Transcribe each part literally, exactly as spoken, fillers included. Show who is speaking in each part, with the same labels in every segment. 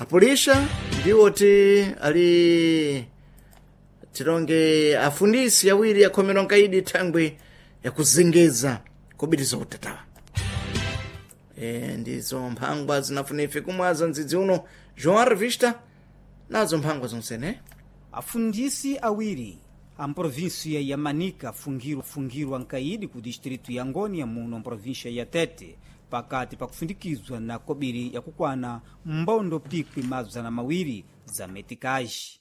Speaker 1: Apulisha ndiwoti ali tilonge afundisi awiri akhomera nkaidi thangwi yakuzengeza kobiriza utatawa. E, ndizo mphangwa zinafuna ife kumwaza mdzidzi uno João Revista nazo mphangwa zonsene.
Speaker 2: Afundisi awiri a mprovinsia ya Manica afungirwa fungirwa nkaidi ku distritu ya Ngônia muno mprovinsia ya Tete pakati pakufundikizwa na kobiri yakukwana mbondo pikwi mazana mawiri za metikaji.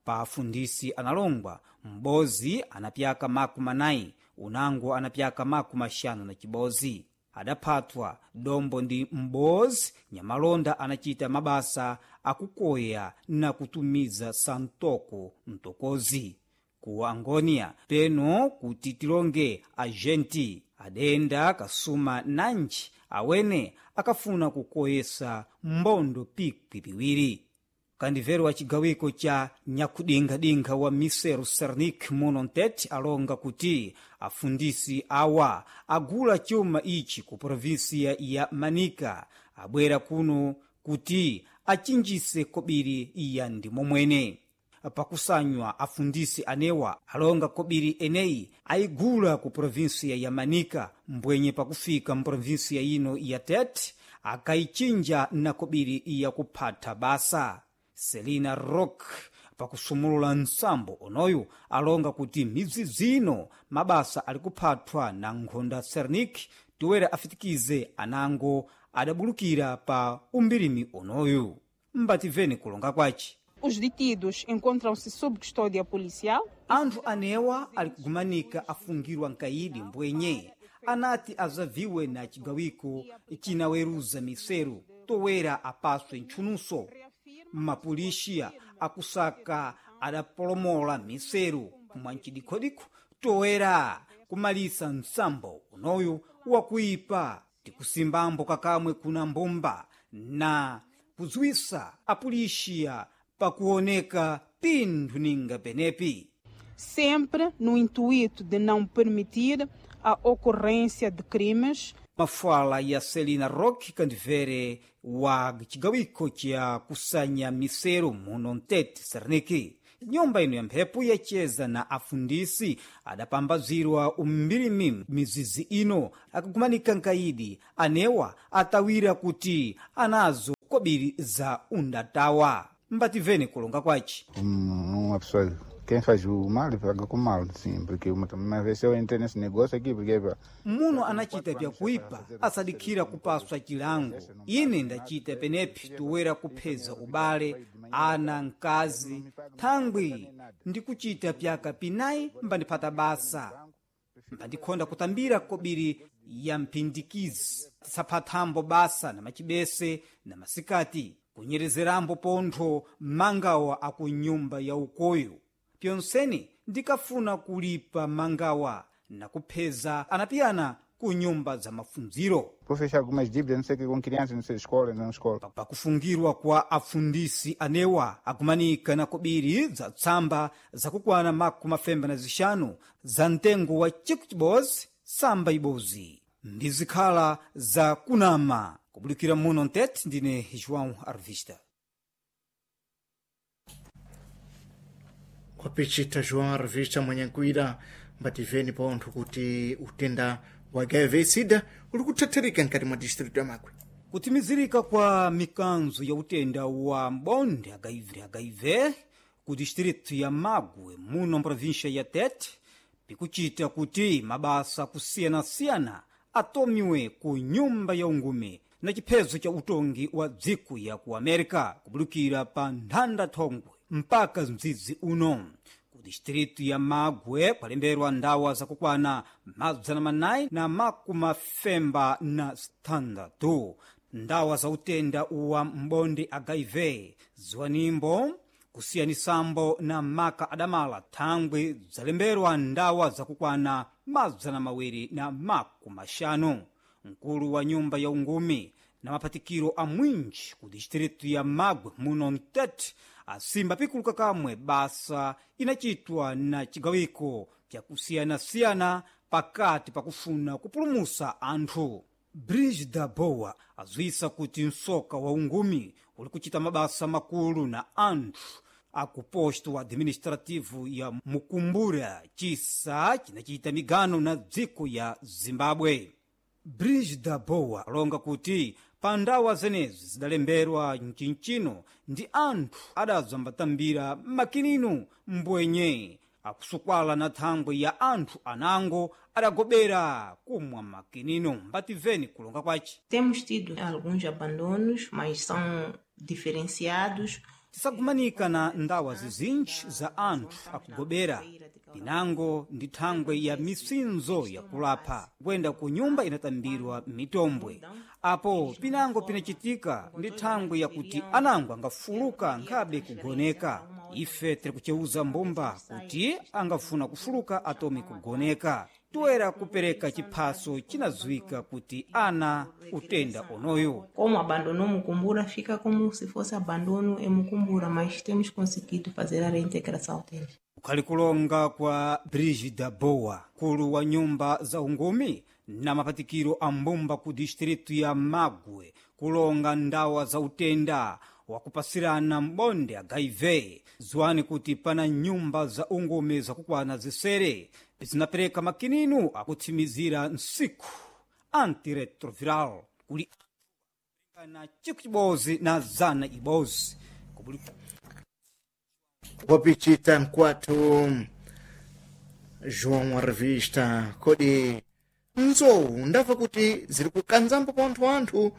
Speaker 2: Pa afundisi analongwa m'bozi anapyaka maku manayi, unango anapyaka maku maxanu na chibozi. Adaphatwa dombo ndi m'bozi nyamalonda anachita mabasa akukoya na kutumiza santoko mtokozi ku Angônia peno kuti tilonge agenti adenda kasuma nanji awene akafuna kukoyesa mbondo pikwi piwiri. Kandivero wa chigawiko cha nyakudingadinkha wa Miseru Sernik muno Ntete alonga kuti afundisi awa agula chuma ichi ku provinsia ya Manica abwera kuno kuti achinjise kobiri ya ndimomwene. Pakusanywa afundisi anewa alonga kobiri eneyi ayigula ku provinsia ya Manica mbwenye pakufika mprovinsia ino ya Tete akayichinja na kobiri ya kuphatha basa. Selina Rock pakusumulula nsambo onoyu alonga kuti midzidzi ino mabasa ali kuphathwa na nkhonda Sernik toera afitikize anango adabulukira pa umbirimi onoyu. Mbativeni kulonga kwace.
Speaker 3: Os detidos encontram-se sob custódia policial.
Speaker 2: Anthu anewa ali kugumanika afungirwa nkaidi mbwenye anati azaviwe na chigawiko chinaweruza miseru towera apaswe ntchununso. Mapulixiya akusaka adapolomola miseru mwancdikhodikho toera kumalisa msambo unoyu wakuipa. Tikusimbambo kakamwe kuna mbumba na kudziwisa apulixiya pakuoneka pinthu ninga penepi.
Speaker 3: Sempre no intuito de não permitir a ocorrência de crimes.
Speaker 2: Mafala ya Celina Rock kandivere wa chigawiko cha kusanya miseru muno Ntete Serniki. Nyumba ino ya mphepo yacheza na afundisi adapambazirwa umbirimi mizizi ino akagumanika nkaidi anewa atawira kuti anazo kobiri za undatawa. Mbativeni kulonga kwace.
Speaker 4: Uma pessoa, quem faz o mal paga com mal, sim, porque uma, uma vez eu entrei nesse negócio aqui, porque
Speaker 2: muno anachita vyakuipa asadikhira kupaswa chilango. Ine ndachita penepi toera kupheza ubale ana mkazi thangwi ndikuchita pyaka pinayi mbandiphata basa mbandikhonda kutambira kobiri ya mphindikizi tisaphathambo basa na machibese na masikati kunyerezerambo pontho mangawa akunyumba ya ukoyo. Pyonseni ndikafuna kulipa mangawa na kupheza anapiyana ku nyumba za mafunziro.
Speaker 4: Vou fechar algumas dívidas, não sei o que, com crianças, não sei, escola, não escola.
Speaker 2: Pakufungirwa kwa afundisi anewa akumanika na kobiri za tsamba zakukwana makumi mafemba na zixanu za mtengo wa chiku chibozi samba ibozi ndizikhala za kunama. Kubulikira muno Ntete, ndine João Arvista.
Speaker 1: Wapichita João Revista mwenyankuira mbativeni pontho kuti utenda wa H I V SIDA uli kuthatharika mkati mwa distritu ya Magwe.
Speaker 2: Kutimizirika kwa mikanzo ya utenda wa mbonde H I V, H I V ku distritu ya Magwe muno mprovinsia ya Tete pikuchita kuti mabasa kusiyanasiyana atomiwe ku nyumba ya ungume na chiphezo cha utongi wa dziko ya ku America kubulukira pa nthanda thongwe mpaka mdzidzi uno. Ku distritu ya Magwe kwalemberwa ndawa zakukwana mazana manayi na makumafemba na sitandatu ndawa za utenda wa mbonde H I V ziwanimbo kusiyanisambo na maka adamala thangwi zalemberwa ndawa zakukwana mazana mawiri na makumaxanu. Mkulu wa nyumba ya ungumi na maphatikiro a mwinji ku distritu ya Magwe muno Ntete asimba pikuluka kamwe basa inachitwa na chigawiko pyakusiyanasiyana pakati pakufuna kupulumusa anthu. Brigida Boa azwisa kuti msoka wa ungumi uli kuchita mabasa makulu na anthu akuposto administrativo ya Mukumbura, chisa chinachita migano na dziko ya Zimbabwe. Brigida Boa alonga kuti pa ndawa zenezi zidalemberwa mchinchino ndi anthu adazambatambira makinino mbwenye akusukwala na thangwe ya anthu anango adagobera kumwa makinino. Mbativeni kulonga kwace.
Speaker 5: Temos tido alguns abandonos, mas são diferenciados.
Speaker 2: Tisagumanika na ndawa zizinji za anthu akugobera pinango ndi thangwe ya misinzo yakulapha kuyenda ku nyumba inatambirwa mitombwe. Apo pinango pinachitika ndi thangwe yakuti anango angafuluka nkhabe kugoneka. Ife tiri kucheuza mbumba kuti angafuna kufuluka atome kugoneka, toera kupereka chiphaso chinadziwika kuti ana utenda onoyo.
Speaker 5: Como abandonou Mucumbura, fica como se fosse abandono em Mucumbura, mas temos conseguido fazer a reintegração deles.
Speaker 2: Kukhali kulonga kwa Brigida Boa, mkulu wa nyumba za ungumi na mapatikiro a mbumba ku distritu ya Magwe, kulonga ndawa za utenda wakupasirana mbonde H I V. Ziwani kuti pana nyumba za ungumi zakukwana zisere zinapereka makininu akutsimizira nsiku antiretroviral kuli na chiku chibozi na zana ibozi Kubuli
Speaker 1: Wapichita mkwatu João a revista kodi nzowu ndamva kuti ziri kukanzambo pa anthu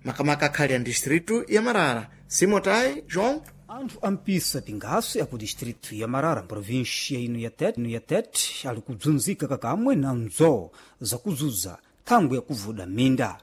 Speaker 1: makamaka akhali a distritu ya Marara. Simotai João?
Speaker 2: Anthu ampisa pingaso ya ku distritu ya Marara, província ino ya Tete, ino ya Tete ali kudzunzika kakamwe na nzowu zakuzuza thangwe yakuvuda minda.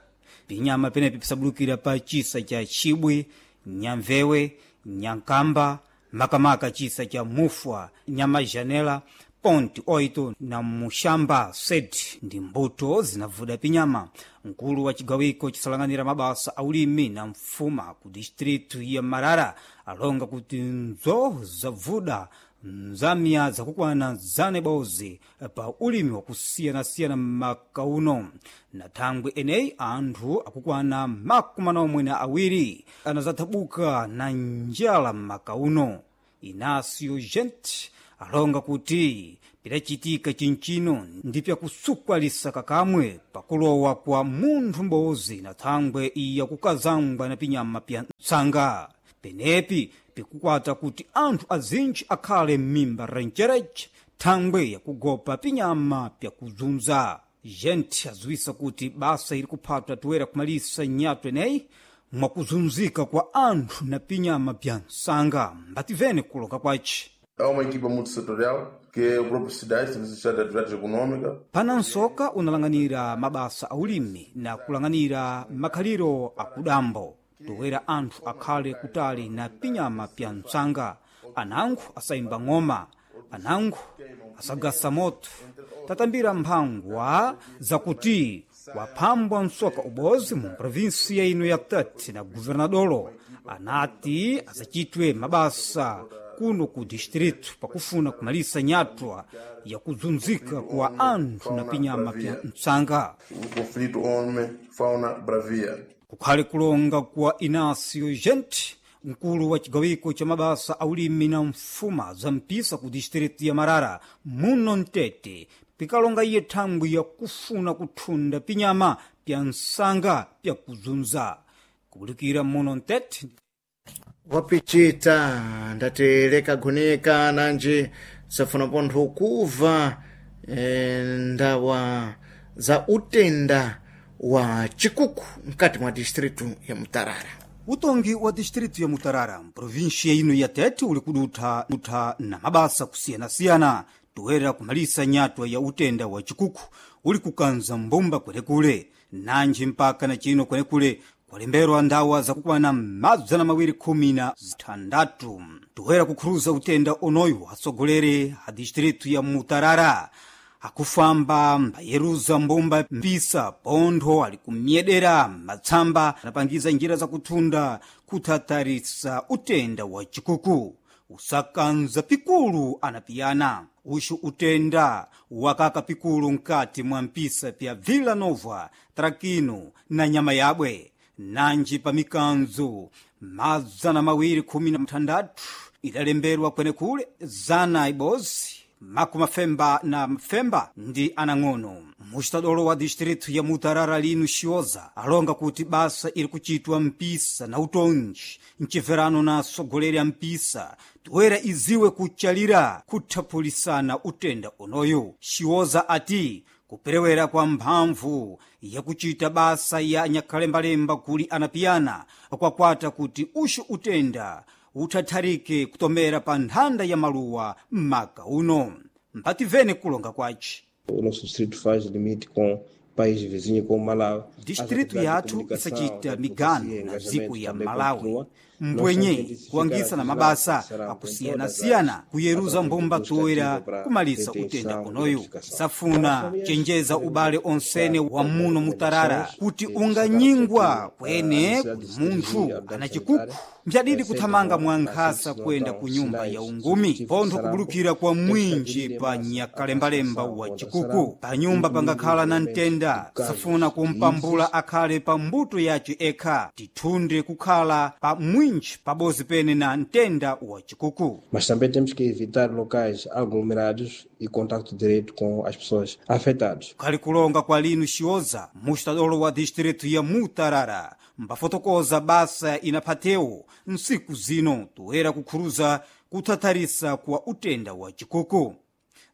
Speaker 2: Pinyama penepi pisabulukira pa chisa cha Chibwe, Nyamvewe, Nyankamba, makamaka chisa cha Mufwa, Nyamajanela, Ponte oito na Muxamba sete ndi mbuto zinavuda pinyama. Mkulu wa cigawiko cisalang'anira mabasa a ulimi na mfuma ku distritu ya Marara alonga kuti nzowu zavuda nzamiya zakukwana zana ibodzi pa ulimi wakusiyanasiyana m'makauno. Na thangwe eneyi anthu akukwana makumi manomwe na awiri anazathabuka na njala m'makauno. Inácio Gente alonga kuti pidacitika chinchino ndi pyakusukwalisa kakamwe pakulowa kwa munthu m'bodzi na thangwe iya kukazangwa na pinyama pya ntsanga. Penepi pikukwata kuti anthu azinji akhale m'mimba rencereche thangwe yakugopa pinyama pyakuzunza. Gente aziwisa kuti basa ili kuphatwa toera kumalisa nyatwa eneyi mwakuzunzika kwa anthu na pinyama pya nsanga. Mbativene kuloka kwace.
Speaker 6: Há uma equipa multissetorial, que é o próprio SIDAI, Serviço de Estado de Atividade Econômica.
Speaker 2: Pana nsoka unalang'anira mabasa a ulimi na kulang'anira makhaliro akudambo toera anthu akhale kutali na pinyama pya ntsanga. Anango asayimba ng'oma, anango asagasa moto. Tatambira mphangwa zakuti waphambwa msoka ubozi mu provinsia ino ya Tete na governadolo anati asachitwe mabasa kuno ku distritu pakufuna kumalisa nyatwa yakuzunzika kwa anthu na pinyama pya ntsanga.
Speaker 6: O conflito homem-fauna bravia.
Speaker 2: Kukhale kulonga kwa Inácio Gente, mkulu wa cigawiko cha mabasa a ulimi na mfuma za mpisa ku distritu ya Marara muno Mtete, pikalonga iye thangwi yakufuna kuthunda pinyama pya nsanga pyakuzunza. Kubulikira muno Mtete.
Speaker 1: Wapichita ndati leka nanji safuna pontho kuva e, ndawa za utenda wa chikuku mkati mwa distritu ya Mutarara.
Speaker 2: Utongi wa distritu ya Mutarara mprovinsia ino ya Tete uli kudutha dutha na mabasa kusiyanasiyana toera kumalisa nyatwa ya utenda wa chikuku uli kukanza mbumba kwenekule nanji mpaka na chino kwenekule kwalemberwa ndawa zakukwana mazana mawiri khumi na zithandatu toera kukhuruza utenda onoyu atsogoleri a distritu ya Mutarara akufamba mbayeruza mbumba mpisa pontho ali kumyedera matsamba anapangiza njira zakuthunda kuthatharisa utenda wa chikuku. Usakanza pikulu anapiyana. Uxu utenda wakaka pikulu nkati mwa mpisa pya Vila Nova, Traquino na nyama yabwe nanji pa mikanzo mazana mawiri khumi na mtandatu idalemberwa kwenekule zana ibozi makumi mafemba na mfemba ndi anang'ono. Muxitadolo wa distritu ya Mutarara linu Xioza alonga kuti basa iri kuchitwa mpisa na utonji mcibverano na atsogoleri a mpisa toera iziwe kuchalira kuthaphulisana utenda unoyu. Xioza ati kuperewera kwa mphamvu yakuchita basa ya nyakhalembalemba kuli anapiyana kwakwata kuti uxu utenda uthatharike kutomera pa nthanda ya maluwa m'maka uno. Mpativene kulonga kwace.
Speaker 7: O nosso distrito faz limite com país vizinho como Malawi.
Speaker 2: Distritu yathu isachita migano na dziko ya Malawi, mbwenye kuangisa na mabasa akusiyana-siyana kuyeruza mbumba toera kumalisa utenda unoyu. Safuna chenjeza ubale onsene wa muno Mutarara kuti unganyingwa kwene kuli munthu ana chikuku mbyadidi kuthamanga mwankhasa kwenda ku nyumba ya ungumi pontho kubulukira kwa mwinji pa nyakalembalemba wa chikuku. Pa nyumba pangakhala na mtenda safuna kumpambula akhale pa mbuto yace ekha, tithunde kukhala pa mwinji pabozi pene na mtenda wa chikuku.
Speaker 7: Mas também temos que evitar locais aglomerados e contacto direto com as pessoas afetadas.
Speaker 2: Kukhali kulonga kwa linu Xioza, mustadolo wa distritu ya Mutarara mbafotokoza basa inaphatewo nsiku zino toera kukhuruza kuthatharisa kwa utenda wa chikuku.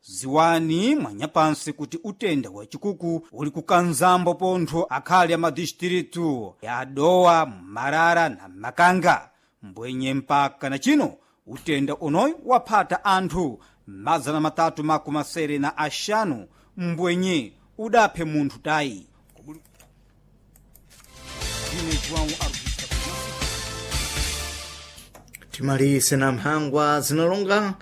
Speaker 2: Ziwani mwanyapansi kuti utenda wa chikuku uli kukanzambo pontho akhali a madistritu ya Dowa, Marara na Makanga. Mbwenye mpaka na chino utenda unoyu waphata anthu mazana matatu makumi asere na axanu mbwenye udaphe munthu tayi. Ine João Augusto.
Speaker 1: Timalise na mphangwa zinalonga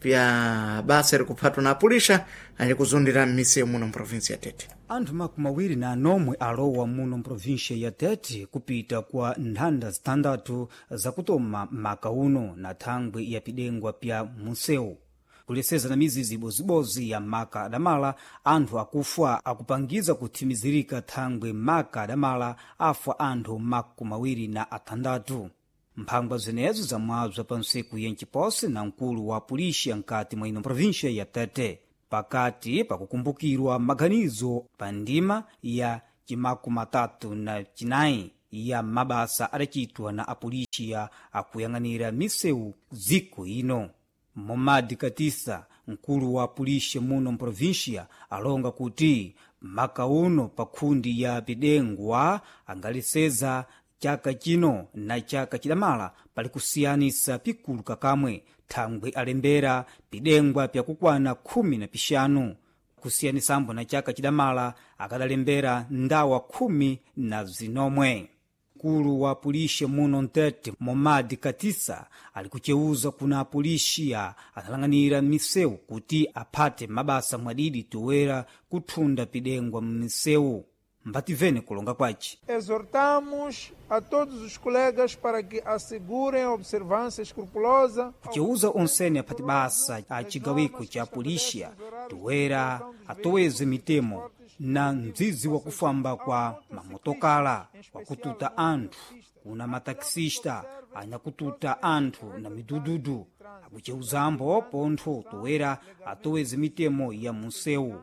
Speaker 1: pya basa likuphatwa na apulixa ali kuzundira m'misewu muno mprovinsi ya Tete.
Speaker 2: Anthu makumi awiri na anomwe alowa muno mprovinsia ya Tete kupita kwa nthanda zitandatu zakutoma maka uno na thangwi ya pidengwa pya munsewu. Kuleseza na mizizi ibozibozi ya maka adamala, anthu akufa akupangiza kuthimizirika thangwi maka adamala afa anthu makumi awiri na atandatu. Mphangwa zenezo zamwabza pa ntsiku ya nciposi na mkulu wa pulixa nkati mwa ino província ya Tete, pakati pakukumbukirwa maganizo pa ndima ya cimakumi atatu na cinayi ya mabasa adacitwa na apulixiya akuyang'anira misewu dziko ino. Momadi Katisa, mkulu wa pulixa muno mprovíncia, alonga kuti maka uno pa khundi ya pidengwa angaleseza chaka chino na chaka chidamala pali kusiyanisa pikulu kakamwe, thangwi alembera pidengwa pyakukwana khumi na pixanu kusiyanisambo na chaka chidamala akadalembera ndawa khumi na zinomwe. Mkulu wa pulixa muno Mtete Momadi Katisa ali kuceuza kuna apulixiya analang'anira misewu kuti aphate mabasa mwadidi toera kuthunda pidengwa m'misewu. Mbativene kulonga kwace.
Speaker 8: Exortamos a todos os colegas para que assegurem a observância escrupulosa.
Speaker 2: Kuceuza onsene aphati basa a cigawiko ca pulixiya toera atoweze mitemo na mdzidzi wa kufamba kwa mamotokala wakututa anthu kuna matakisista anyakututa anthu na midududu. Akuceuzambo pontho toera atoweze mitemo ya munsewu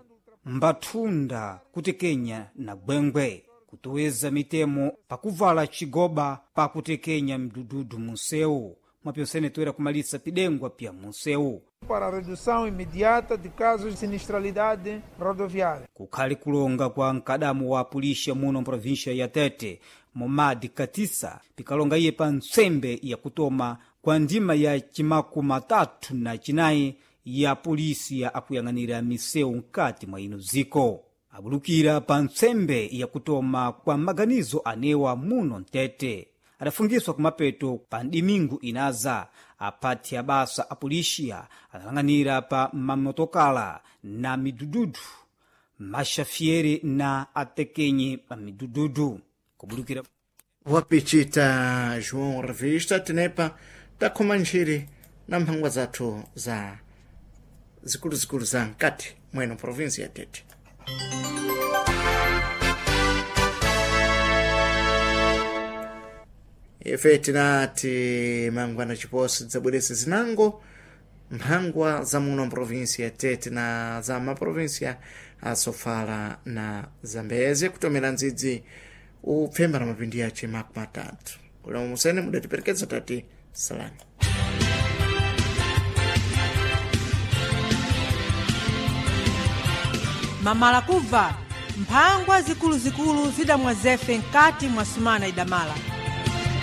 Speaker 2: mbathunda kutekenya na gwengwe kutoweza mitemo pakuvala cigoba pakutekenya mdududu munsewu mwapyonsene toera kumalisa pidengwa pya munsewu.
Speaker 8: Para a redução imediata de casos de sinistralidade rodoviária.
Speaker 2: Kukhali kulonga kwa mkadamu wa pulixa muno mprovíncia ya Tete Momadi Katisa pikalonga iye pa ntsembe yakutoma kwa ndima ya cimakumi atatu na cinayi ya polisi ya akuyang'anira misewu mkati mwa ino dziko. Abulukira pa ntsembe yakutoma kwa maganizo anewa muno Mtete adafungiswa kumapeto pa dimingu inaza. Aphati abasa apolixiya analang'anira pa mamotokala na midududu maxafiere na atekenye pa midududu kubulukira
Speaker 1: Wapichita João Revista tenepa takhoma ntchire Na mphangwa zathu za zikuluzikulu za mkati mweno provinsi ya Tete. Ife tinati mangwana chiposo tidzabwerese zinango mphangwa za muno mprovinsi ya Tete na za maprovinsia a Sofala na Zambeze, kutomera ndzidzi upfemba na mapindi yace makumi atatu. Ulemu musene mudatiperekeza, tati salani.
Speaker 9: Mamala kubva mphangwa zikuluzikulu zidamwa zefe mkati mwa sumana idamala.